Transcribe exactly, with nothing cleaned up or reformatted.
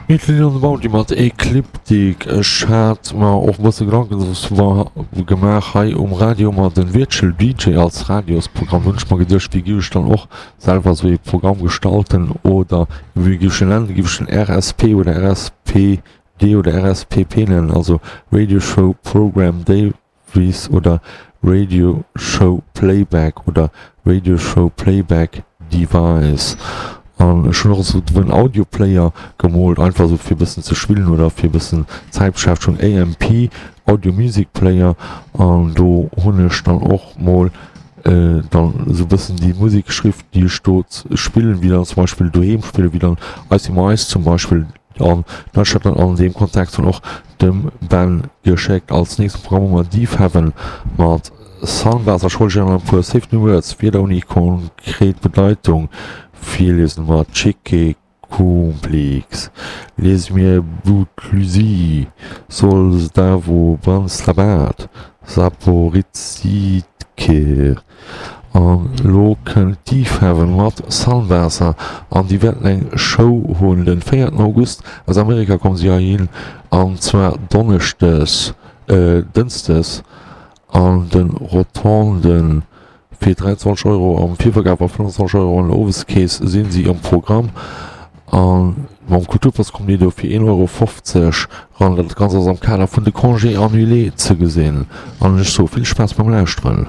Mutiny on the Bounty mat Ecliptic. Ech hat mer och e bësse Gedanken gemaach hei um Radio mat den Virtual D J als Radiosprogramm. Hunn ech mer geduecht, wéi giff ech dann och selwer esou ee Programm gestalten oder wéi giff ech en nennen? Giff ech en R S P oder R S P D oder R S P P nennen, also Radio Show Program Davies oder Radio Show Playback oder Radio Show Playback Device? An ech hunn och esou en Audioplayer gemoolt, einfach esou fir e bëssen ze spillen oder fir e bëssen Zäitbeschäftegung, A M P, Audio Music Player, an do hunn ech dann och mol dann esou e bëssen déi Musek geschriwwen, déi ech do spillen, wéi dann zum Beispill doheem spillen, wéi dann I See My Eyes zum Beispill, an dann ech dat dann an deem Kontext dann och dem Ben geschéckt. Als nächste Programm hu mer Deafheaven mat Sunbath. Ech wollt iech nach e puer Save New Words, Wierder ouni konkret Bedeitung, virliesen. Mat Chique Complex liese mir Buclusie, Solsdavo, Branslabat, Saporizidker. An lo kënnt Deafheaven mat Sunbather an déi wäerten eng Show hunn den véierten August. Aus Amerika kommen si heihin an zwar Donneschdes, äh, Dënschdes an den Rotonden fir dräiandzwanzeg Euro am Virverkaf a fënnfanzwanzeg Euro an der Oweskeess sinn si am Programm an mam Kulturpass kommt dir do fir een Euro fofzeg ran. Dat Ganzt ass am Kader vun de Congés annulés ze gesinn an ech soe vill Spaass beim Lauschteren.